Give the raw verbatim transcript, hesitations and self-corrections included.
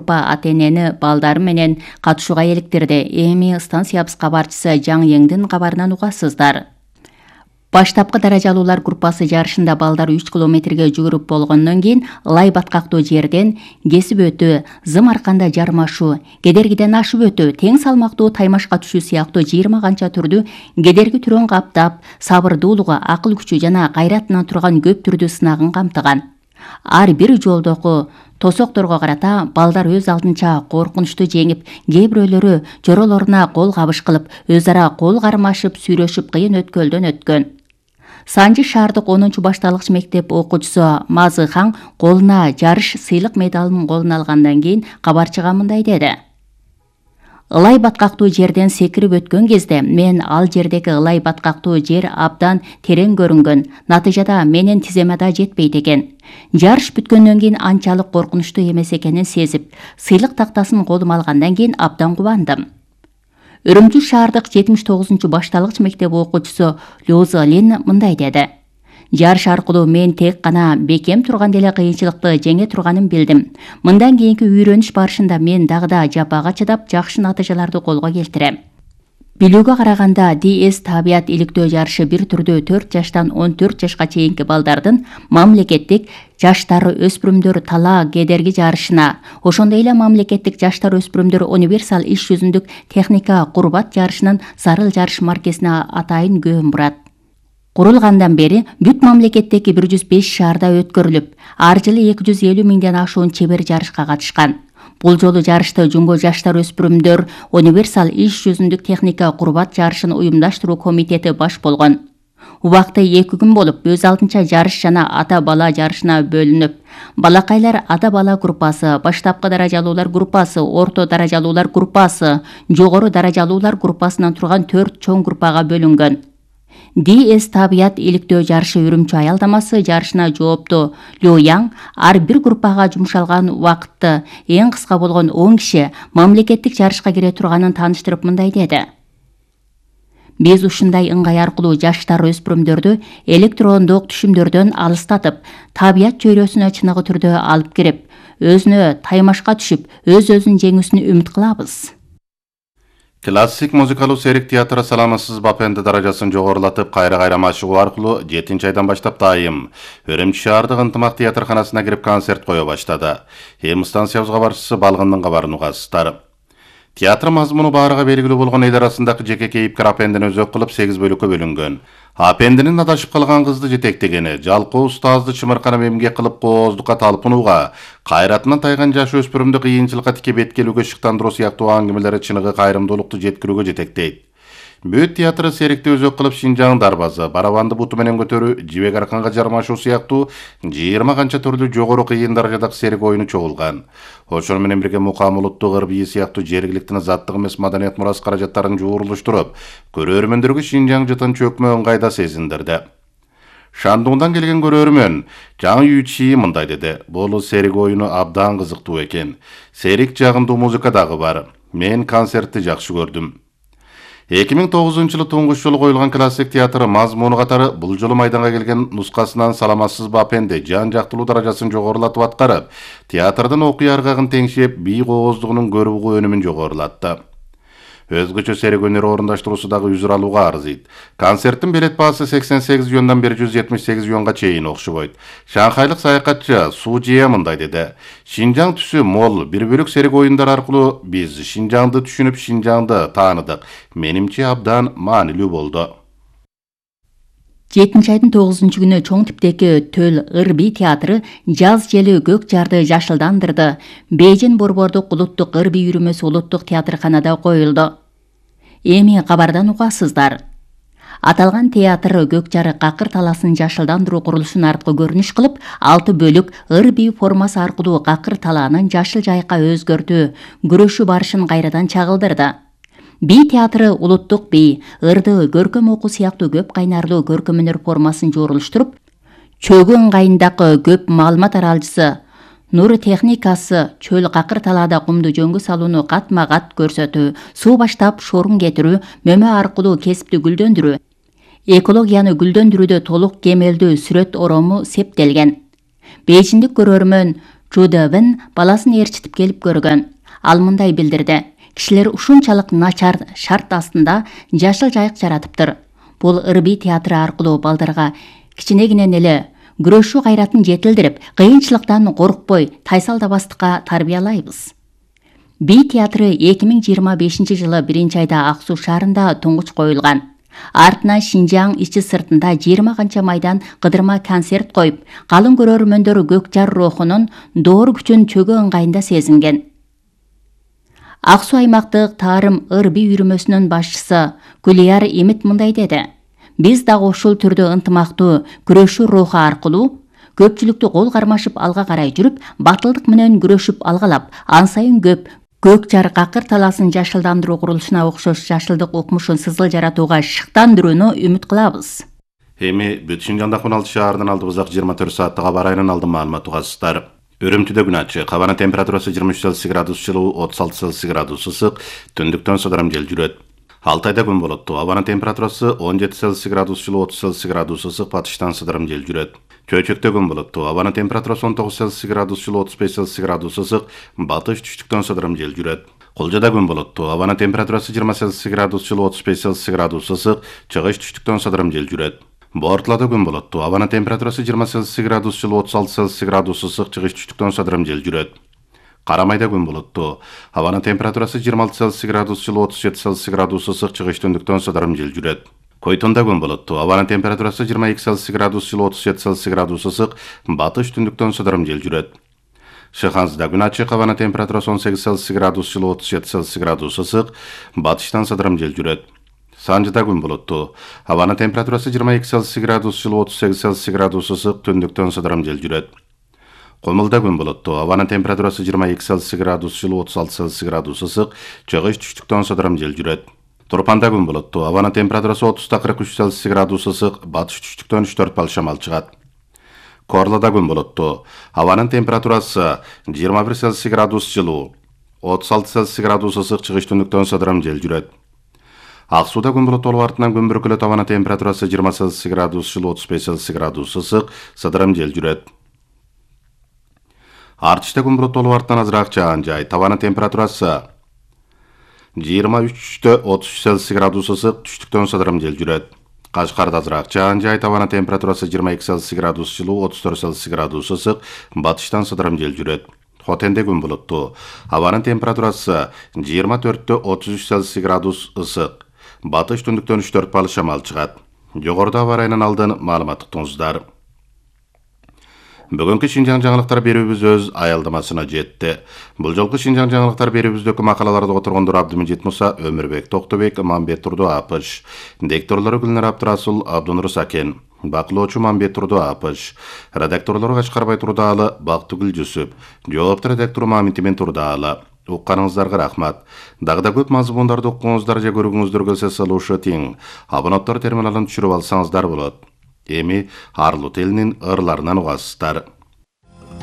группа ата-энени балдары менен катышууга эликтирди. Эми станциябыз кабарчысы Жаң Еңдин кабарынан угасыздар. Баштапкы даражалуулар группасы жарышында балдар үч километрге жүгүрүп болгондон кийин ылай баткактуу жерден кесип өтүү, зым арканда жармашуу, кедергиден ашып өтүү, тең салмактуу таймашка түшүү сыяктуу жыйырма канча түрдүү кедерги түрөн каптап, сабырдуулугу, акыл күчү жана кайратынан турган көп түрдүү сынагын камтыган. Ар бир жолдогу тосокторго карата балдар өз алдынча коркунучту жеңип, кээ бирөөлөрү жоролоруна кол кабыш кылып, өз ара кол кармашып, сүйрөшүп кыйын өткөлдөн өткөн. Санжы шаардык онунчу башталгыч мектеп окуучусу Мазыхан колуна жарыш сыйлык медалын колуна алгандан кийин кабарчыга мындай деди. Ылай баткактуу жерден секирип өткөн кезде мен ал жердеги ылай баткактуу жер абдан терең көрүнгөн. Натыйжада менин тиземе да жетпейт экен. Жарыш бүткөндөн кийин анчалык коркунучтуу эмес экенин сезип, сыйлык тактасын колума алгандан кийин абдан кубандым. Үрүмчү шаардык жетимиш тогузунчу башталгыч мектеп окуучусу Лёза Лин мындай деди. Жарыш аркылуу мен тек гана бекем турган деле кыйынчылыкты жеңе турганын билдим. Мындан кийинки үйрөнүш барышында мен дагы да жапага чыдап, жакшы натыйжаларды колго келтирем. Билүүгө караганда ди эс табият иликтөө жарышы бир түрдүү төрт жаштан он төрт жашка чейинки балдардын мамлекеттик жаштар өспүрүмдөр талаа кедерги жарышына, ошондой эле мамлекеттик жаштар өспүрүмдөр универсал иш жүзүндүк техника курбат жарышынын зарыл жарыш маркесине атайын көңүл бурат. Курулгандан бери бүт мамлекеттеги бир жүз беш шаарда өткөрүлүп, ар жылы эки жүз элүү миңден ашуун чебер жарышка катышкан. Бул жолу жарышты Жумго жаштар өспүрүмдөр универсал иш жүзүндүк техника курбат жарышын уюмдаштыруу комитети баш болгон. Убакыты эки күн болуп, өз алдынча жарыш жана ата-бала жарышына бөлүнүп, балакайлар ата-бала группасы, баштапкы даражалуулар группасы, орто даражалуулар группасы, жогору даражалуулар группасынан турган төрт чоң группага бөлүнгөн. ди эс табият иликтөө жарышы Үрүмчү аялдамасы жарышына жооптуу Лю Яң ар бир группага жумшалган убакытты эң кыска болгон он киши мамлекеттик жарышка кире турганын тааныштырып мындай деди. Биз ушундай ыңгай аркылуу жаштар өспүрүмдөрдү электрондук түшүмдөрдөн алыстатып, табият чөйрөсүнө чыныгы түрдө алып кирип, өзүнө таймашка түшүп, өз-өзүн жеңүүсүн үмүт кылабыз. Классик музыкалуу серик театры саламатсыз бапенди даражасын жогорулатып, кайра-кайра машыгуу аркылуу жетинчи айдан баштап дайым Үрүмчү шаардык ынтымак театрканасына кирип концерт кое баштады. Эми станциябызга барчысы Балгындын кабарын угасыздар. Театр мазмуну баарыга белгилүү болгон эл арасындагы жеке кейипкер апендини өзөк кылып сегиз бөлүккө бөлүнгөн. Апендинин адашып калган кызды жетектегени, жалкоо устазды чымырканып эмгек кылып кооздукка талпынууга, кайратынан тайган жаш өспүрүмдү кыйынчылыкка тике беткелүүгө шыктандыруу сыяктуу аңгемелери чыныгы кайрымдуулукту жеткирүүгө жетектейт. Бүт театры серикти өзөк кылып Шинжаң дарбазы, барабанды буту менен көтөрүү, жибек арканга жармашуу сыяктуу жыйырма канча түрлүү жогору кыйын даражадагы серик оюну чогулган. Ошону менен бирге мукам улуттук ыр бийи сыяктуу жергиликтин заттык эмес маданият мурас каражаттарын жуурулуштуруп, көрөрмөндөргө Шинжаң жытын чөкмө ыңгайда сезиндирди. Шандуңдан келген көрөрмөн Жаң Ючи мындай деди. Бул серик оюну абдан кызыктуу экен. Серик жагымдуу музыка дагы бар. Мен концертти жакшы көрдүм. эки миң тогузунчу жылы туңгуш жолу коюлган классик театр мазмуну катары бул жолу майданга келген нускасынан саламатсыз бапенди жан жактылуу даражасын жогорулатып аткарып, театрдын окуя аргагын теңшеп, бий кооздугунун көрүгүү өнүмүн жогорулатты. Өзгөчө серик өнөр орундаштыруусу дагы үзүр алууга арзыйт. Концерттин билет баасы сексен сегиз юандан бир жүз жетимиш сегиз юанга чейин окшобойт. Шанхайлык саякатчы Су Жие мындай деди. Шинжаң түсү мол, бир бөлүк серик оюндар аркылуу биз Шинжаңды түшүнүп, Шинжаңды тааныдык. Менимче абдан маанилүү болду. жетинчи айдын тогузунчу күнү чоң типтеги Төл ыр бий театры жаз жели көк жарды жашылдандырды. Бейжин Борбордук улуттук ыр бий үйрүмөсү улуттук театрканада коюлду. Эми кабардан угасыздар. Аталган театр көк жарык какыр таласын жашылдандыруу курулушун арткы көрүнүш кылып, алты бөлүк ыр бий формасы аркылуу какыр талаанын жашыл жайка өзгөртүү, күрөшүү барышын кайрадан чагылдырды. Бий театры улуттук бий, ырды көркөм окуу сыяктуу көп кайнарлуу көркөм өнөр формасын жуурулуштуруп, чөгү ыңгайындагы көп маалымат аралчысы, нур техникасы, чөл какыр талаада кумду жөнгө салууну катма-кат көрсөтүү, суу баштап шорун кетирүү, мөмө аркылуу кесипти гүлдөндүрүү, экологияны гүлдөндүрүүдө толук кемелдүү сүрөт орому септелген. Бейжиндик көрөрмөн Чу Дэбин баласын ээрчитип келип көргөн. Ал мындай билдирди: кишилер ушунчалык начар шарт астында жашыл жайык жаратыптыр. Бул ырбий театры аркылуу балдарга кичинегинен эле күрөшүү кайратын жетилдирип, кыйынчылыктан коркпой, тайсалдабастыкка тарбиялайбыз. Би театры эки миң жыйырма бешинчи жылы биринчи айда Ак Суу шаарында туңгуч коюлган. Артынан Шинжаң ичи сыртында жыйырма канча майдан кыдырма концерт коюп, калың көрөрмөндөр көк жар рухунун доор күчүн чөгө ыңгайында сезинген. Ак Суу аймактык Таарым ырбий үйрмөсүнүн башчысы Гүлияр Имит мындай деди: биз дагы ушул түрдө ынтымактуу күрөшүү руху аркылуу көпчүлүктү кол кармашып алга карай жүрүп, батылдык менен күрөшүп алгалап, ан сайын көп көк жар какыр талаасын жашылдандыруу курулушуна окшош жашылдык укмушун сызыл жаратууга шыктандырууну үмүт кылабыз. Эми бүт Шинжаңдагы он алты шаардан алдыбызак жыйырма төрт сааттык аба ырайынан алдын маалымат угасыздар. Үрүмчүдө күн ачык, абанын температурасы жыйырма үч Цельсий градус жылуу, отуз алты Цельсий градус ысык, түндүктөн содором жел жүрөт. Алтайда күн болотту. Абанын температурасы он жети Цельсий градус жылуу, отуз Цельсий градус ысык, батыштан содором жел жүрөт. Чөйчөктө күн болотту. Абанын температурасы он тогуз Цельсий градус жылуу, отуз беш Цельсий градус ысык, батыш түштүктөн содором жел жүрөт. Кулжада күн болотту. Абанын температурасы жыйырма Цельсий градус жылуу, отуз беш Цельсий градус ысык, чыгыш түштүктөн содором жел жүрөт. Бортлада күн болотту. Абанын температурасы жыйырма Цельсий градус жылуу, отуз алты Цельсий градус ысык, чыгыш түштүктөн содором жел жүрөт. Карамайда күн болотту. Абанын температурасы жыйырма алты Цельсий градус жылуу, отуз жети Цельсий градус ысык, чыгыш түндүктөн содором жел жүрөт. Койтонда күн болотту. Абанын температурасы жыйырма эки Цельсий градус жылуу, отуз жети Цельсий градус ысык, батыш түндүктөн содором жел жүрөт. Шыхансда күн ачык, абанын температурасы он сегиз Цельсий градус жылуу, отуз жети Цельсий градус ысык, батыштан содором жел жүрөт. Санжыда күн болотту. Абанын температурасы жыйырма эки Цельсий градус жылуу, отуз сегиз Цельсий градус ысык, түндүктөн содором жел жүрөт. Комулда күн болотту. Абанын температурасы жыйырма эки Цельсий градус жылуу, отуз алты Цельсий градус ысык, чыгыш түштүктөн содором жел жүрөт. Турпанда күн болотту. Абанын температурасы отуз кырк үч Цельсий градус ысык, батыш түштүктөн үч төрт бал шамал чыгат. Корлада күн болотту. Абанын температурасы жыйырма бир Цельсий градус жылуу, отуз алты Цельсий градус ысык, чыгыш түндүктөн содором жел жүрөт. Ак Сууда күн болот болуп артынан күн бүркүлөт. Абанын температурасы жыйырма Цельсий градус жылуу, отуз беш Цельсий градус ысык, содором жел жүрөт. Артышта күн болот болуп артынан азыраак жаан жай. Табанын температурасы жыйырма үчтө отуз үч Цельсий градус ысык, түштүктөн содором жел жүрөт. Кашкарда азыраак жаан жай. Табанын температурасы жыйырма эки Цельсий градус жылуу, отуз төрт Цельсий градус ысык, батыштан содором жел жүрөт. Хотенде күн болотту. Абанын температурасы жыйырма төрттө отуз үч Цельсий градус ысык, батыш түндүктөн үч төрт бал шамал чыгат. Жогоруда аба ырайынан алдын маалымат уктуңуздар. Бүгүнкү Шинжаң жаңылыктар берүүбүз өз аялдамасына жетти. Бул жолку Шинжаң жаңылыктар берүүбүздөгү макалаларды которгондор Абдымежит Муса, Өмүрбек Токтобек, Мамбет Турду Апыш, дикторлору Гүлнар Абдрасул, Абдунур Сакен, бакылоочу Мамбет Турду Апыш, редакторлору Качкарбай Турдаалы, Бактыгүл Жусуп, жоопту редактору Маминтимен Турдаалы. Укканыңыздарга рахмат. Дагы да көп мазмундарды уккуңуздар же көргүңүздөр келсе салуушу тең. Абонаттар терминалын түшүрүп алсаңыздар болот. Эми Арлут элинин ырларынан угасыздар.